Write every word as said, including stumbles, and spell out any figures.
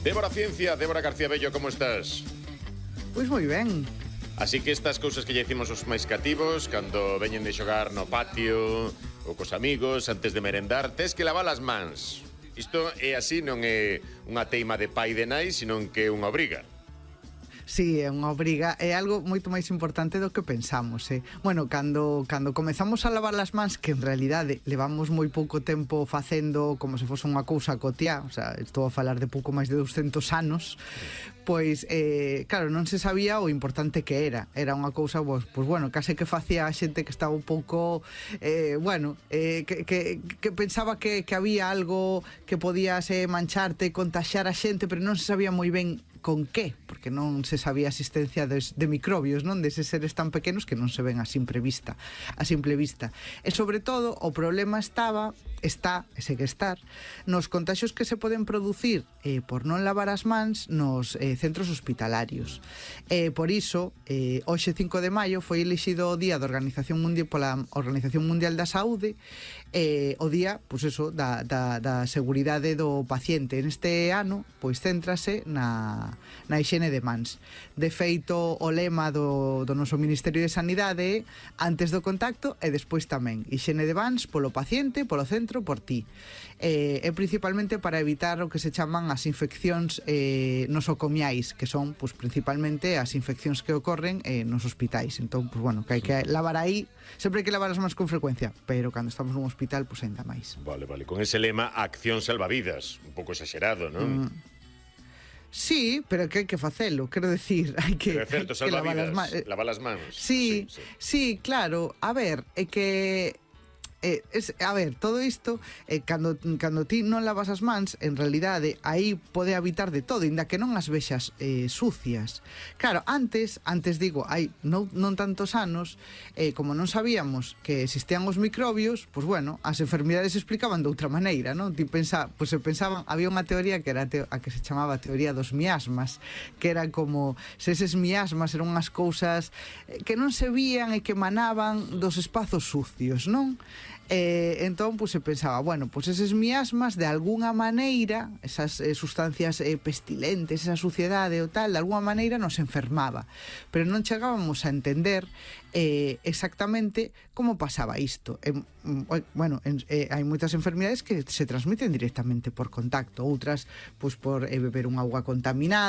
Débora Ciencia, Débora García Bello, como estás? Pois moi ben. Así que estas cousas que lle dicimos os máis cativos, cando veñen de xogar no patio ou cos amigos, antes de merendar, tes que lavar as mans. Isto é así, non é unha teima de pai de nai, senón que é unha obriga. Sí, é unha obriga, é algo moito máis importante do que pensamos, eh? Bueno, cando, cando comezamos a lavar as mans, que en realidade levamos moi pouco tempo facendo como se fose unha cousa cotiá, o sea, estou a falar de pouco máis de douscentos anos, pois, eh, claro, non se sabía o importante que era. Era unha cousa, pois, pois bueno, case que facía a xente que estaba un pouco, eh, bueno, eh, que, que, que pensaba que, que había algo que podías eh, mancharte, contaxiar a xente, pero non se sabía moi ben con que, porque non se sabía a existencia de, de microbios, non, deses seres tan pequenos que non se ven a simple vista, a simple vista. E sobre todo, o problema estaba, está, e segue estar, nos contaxios que se poden producir eh, por non lavar as mans nos eh, centros hospitalarios. Eh, por iso, eh, hoxe cinco de maio foi elixido o día da Organización Mundial pola Organización Mundial da Saúde, eh, o día, pois eso, da, da, da seguridade do paciente. Neste ano, pois céntrase na na hixiene de mans. De feito, o lema do, do noso Ministerio de Sanidade é antes do contacto e despois tamén. Hixiene de mans polo paciente, polo centro, por ti. Eh, é principalmente para evitar o que se chaman as infeccións eh, nosocomiais, que son, pues, principalmente as infeccións que ocorren eh, nos hospitais. Entón, pues, bueno, que hai que lavar aí, sempre hai que lavar as mans con frecuencia, pero cando estamos nun hospital, pues, ainda máis. Vale, vale, con ese lema, acción salvavidas, un pouco exagerado, non? Mm. Sí, pero que hai que facelo, quero decir, hai que, pero é certo, hai que lavar as mans. Lavar as mans. Sí, sí, sí, sí, claro. A ver, é que Eh, es, a ver, todo isto eh, cando, cando ti non lavas as mans, en realidade aí pode habitar de todo, inda que non as vexas eh, sucias. Claro, antes, antes digo, hai non, non tantos anos, eh, como non sabíamos que existían os microbios, pois bueno, as enfermidades se explicaban de outra maneira, non? Ti pensa, pois se pensaban, había unha teoría que era a, teo, a que se chamaba a teoría dos miasmas, que era como se eses miasmas eran unhas cousas eh, que non se vían e que emanaban dos espazos sucios, non? Eh, entón, pues, se pensaba, bueno, pues eses miasmas de alguna maneira, esas eh, sustancias eh, pestilentes, esa suciedade ou tal, de alguna maneira nos enfermaba, pero non chegábamos a entender eh, exactamente como pasaba isto. Eh, bueno, eh, hai moitas enfermidades que se transmiten directamente por contacto, outras, pues, por eh, beber un auga contaminada,